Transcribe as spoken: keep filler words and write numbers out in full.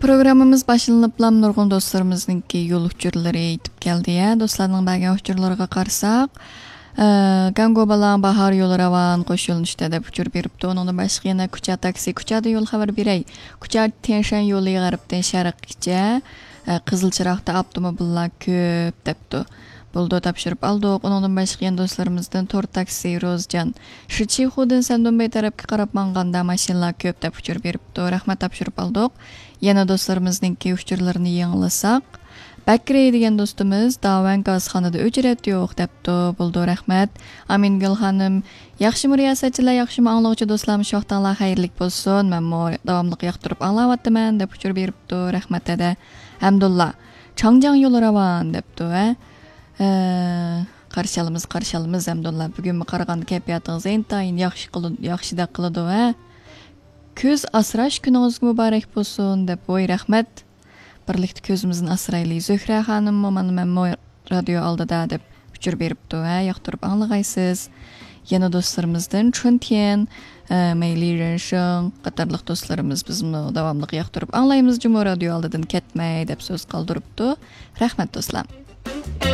پروگراممىمىز باشلىنىپلا نۇرغۇن دوستلىرىمىزنىڭكى يول ئۇچۇرلىرى يېتىپ كەلدى. يا، دوستلارنىڭ بەرگەن ئۇچۇرلىرىغا قارىساق، ئە، گاڭگوبالاڭ باھار يولى راۋان، قوش يۆنىلىشتە دەپ ئۇچۇر بېرىپتۇ. ئۇنىڭدىن باشقا يەنە كۇچا تاكسى، كۇچادىن يول خەۋەر بېرەي. كۇچا تيەنشەن يولى غەربتىن شەرققىچە، ئە، قىزىل چىراغدا ئاپتوموبىللار كۆپ دەپتۇ. بولىدۇ، تاپشۇرۇپ ئالدۇق. ئۇنىڭدىن باشقا يەنە دوستلىرىمىزدىن تور تاكسى، روزجان، شىچىخۇدىن سەندۇنبەي تەرەپكە قاراپ ماڭغاندا ماشىنىلار كۆپ دەپ ئۇچۇر بېرىپتۇ. رەھمەت، تاپشۇرۇپ ئالدۇق. يەنە دوستلىرىمىزنىڭكى ئۇچۇرلىرىنى يېڭىلىساق، بەكرى دېگەن دوستىمىز داۋەن گازخانىدا ئۆچرەت يوق دەپتۇ. بولىدۇ، رەھمەت. ئامىنگۈل خانىم، ياخشىمۇ رىياسەتچىلەر، ياخشىمۇ ئاڭلىغۇچى دوستلار، مۇشۇ ۋاقتىڭلار خەيرلىك بولسۇن. مەنمۇ داۋاملىق ياقتۇرۇپ ئاڭلاۋاتىمەن دەپ ئۇچۇر بېرىپتۇ. رەھمەت ھەدە. ھەمدۇللا، چاڭجياڭ يولى راۋان دەپتۇ، ھە؟ ھە، قارشى ئالىمىز، قارشى ئالىمىز، ھەمدۇللا. بۈگۈنمۇ قارىغاندا كەيپىياتىڭىز ئىنتايىن ياخشى قىلىد-، ياخشىدەك قىلىدۇ، ھە؟ كۈز ئاسراش كۈنىڭىزگە مۇبارەك بولسۇن دەپ، ۋوي، رەھمەت. بىرلىكتە كۆزىمىزنى ئاسرايلى. زۆھرە خانىممۇ، مانا مەنمۇ رادىيو ئالدىدا دەپ ئۇچۇر بېرىپتۇ، ھە، ياقتۇرۇپ ئاڭلىغايسىز. يەنە دوستلىرىمىزدىن چۈن تيەن، ئە، مەيلى رېنشىڭ قاتارلىق دوستلىرىمىز، بىزمۇ داۋاملىق ياقتۇرۇپ ئاڭلايمىز جۇمۇ رادىيو ئالدىدىن كەتمەي دەپ سۆز قالدۇرۇپتۇ. رەھمەت، دوستلار.